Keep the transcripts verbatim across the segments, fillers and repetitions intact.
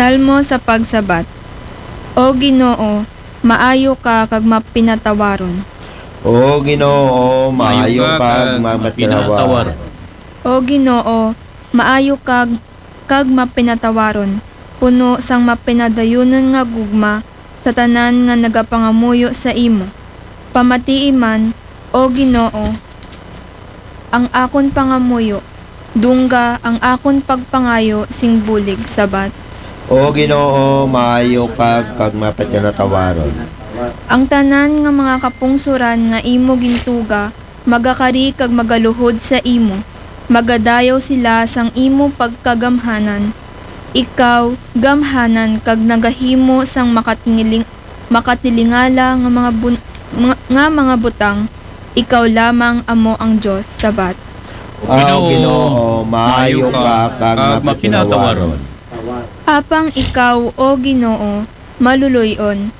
Salmo sa pagsabat. O Ginoo, maayo ka kag mapinatawaron. O Ginoo, maayo ka kag mapinatawar. O Ginoo, maayo ka kag mapinatawaron, puno sang mapinadayonon nga gugma sa tanan nga nagapangamuyo sa imo. Pamatii man, O Ginoo, ang akon pangamuyo, dungga ang akon pagpangayo sing bulig. Sabat. O Ginoo, maayo ka kag mapinatawaron. Ang tanan nga mga kapungsoran nga imo gintuga magakari kag magaluhod sa imo. Magadayaw sila sang imo pagkagamhanan. Ikaw gamhanan kag nagahimo sang makatingiling, makatilingala nga mga bun, nga, nga mga butang. Ikaw lamang amo ang Dios. Sabat. O Ginoo, maayo ka kag mapinatawaron. Apang ikaw, O Ginoo, maluluy-on.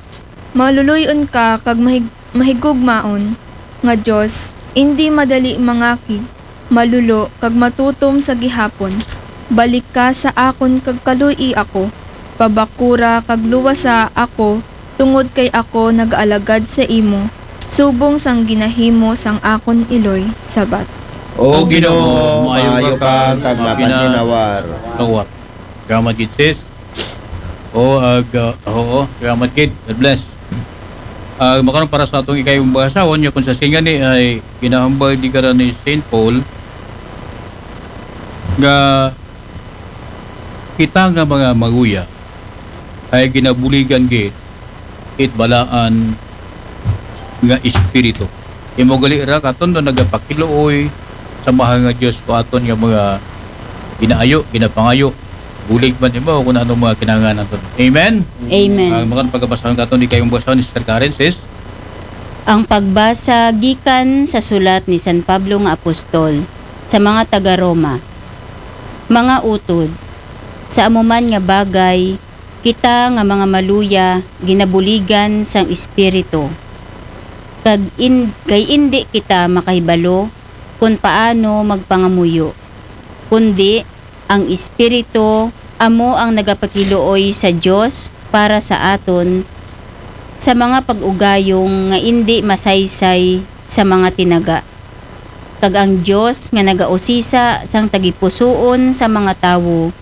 Maluluy-on ka kag mahig, mahigugmaon nga Dios, indi madali mangakig, malulo kag matutom sa gihapon. Balik ka sa akon kag kaluy-i ako. Pabakura kag luwasa ako, tungod kay ako nagaalagad sa imo, subong sang ginahimo sang akon iloy. Sabat. O Ginoo, maayo ka kag mapinatawar. Tawar. Salamat gid, sis. O ag uh, oo, salamat gid. God bless. Ag makaron para sa atong ikayong basahon, nya kung sa singani ay ginahambal di kara ni Saint Paul nga kita nga mga maguya ay ginabuligan gid it balaan nga espiritu. Imo gali ra katon no nagapakiluoy sa mahal nga Dios ko aton nga mga ginaayo, ginapangayo, bulig man imo kung ano mga kinahanglan naton. Amen. Amen. Ang mga pagkabasahon katon di kayong basahon ni Sister Karen, sis. Ang pagbasa gikan sa sulat ni San Pablo nga apostol sa mga taga Roma. Mga utod, sa amo man nga bagay, kita nga mga maluya ginabuligan sang Espiritu. Kag in, kay indi kita makahibalo kun paano magpangamuyo, kundi ang Espiritu amo ang nagapakiluoy sa Dios para sa aton sa mga pag-ugayong nga indi masaysay sa mga tinaga. Kag ang Dios nga nagausisa sang tagipusoon sa mga tawo,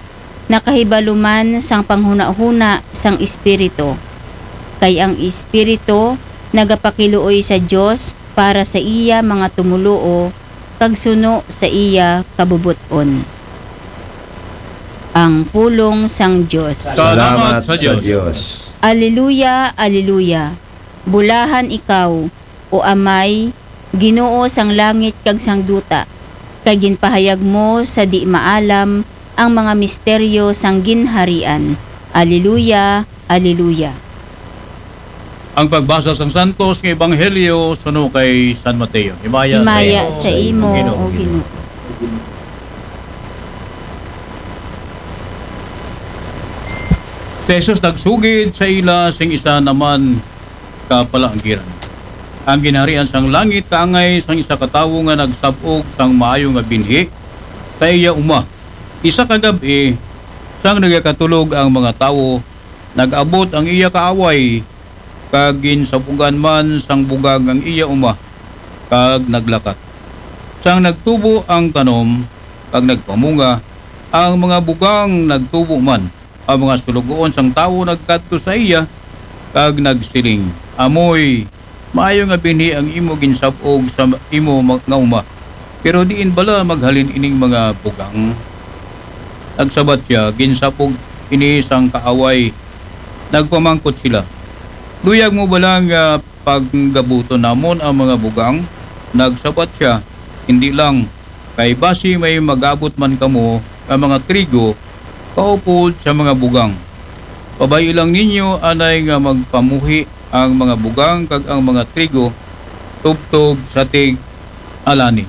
nakahibalo man sang panghunahuna sang Espiritu. Kay ang Espiritu nagapakiluoy sa Dios para sa iya mga tumuluo kag suno sa iya kabubut-on. Ang pulong sang Dios. Salamat sa Dios. Aleluya, aleluya. Bulahan ikaw, O Amay, Ginoo sang langit kag sang duta, kay ginpahayag mo sa di maalam ang mga misteryo sang ginharian. Aleluya, aleluya. Ang pagbasa sang Santos nga Ebanghelyo suno kay San Mateo. Himaya, Himaya sa imo, O Ginoo. Si Jesus nagsugid sa ila sing isa naman ka palaanggiran. Ang ginharian sang langit kaangay sang isa ka tawo nga nagsab-og sang maayo nga binhi sa iya uma. Isa ka gab-i, sang nagakatulog ang mga tawo, nag-abot ang iya kaaway, kag ginsab-ogan man sang bugang ang iya uma, kag naglakat. Sang nagtubo ang tanom, kag nagpamunga, ang mga bugang nagtubo man. Ang mga sulugoon sang tawo nagkadto sa iya, kag nagsiling, "Amoy maayo nga binhi ang imo ginsab-og sa imo ma-, nga uma, pero diin bala maghalin ining mga bugang?" Nagsabat siya, "Ginsab-og ini sang kaaway." Nagpamangkot sila, "Luyag mo bala nga paggabuton namon ang mga bugang?" Nagsabat siya, "Hindi lang, kay basi may mag-abot man kamo nga mga trigo kaupod sa mga bugang. Pabay-i lang ninyo anay nga magpamuhi ang mga bugang kag ang mga trigo tubtob sa tig-alani.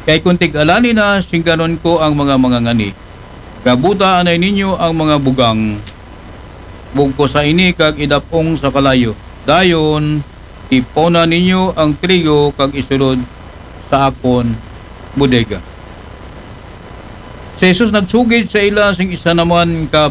Kay kun tig-alani na, singganon ko ang mga mangangani. Gabuta anay ninyo ang mga bugang. Bugkosa ini kag idap-ong sa kalayo. Dayon, tipona ninyo ang trigo kag isulod sa akon bodega." Si Jesus nagsugid sa ila sing isa naman ka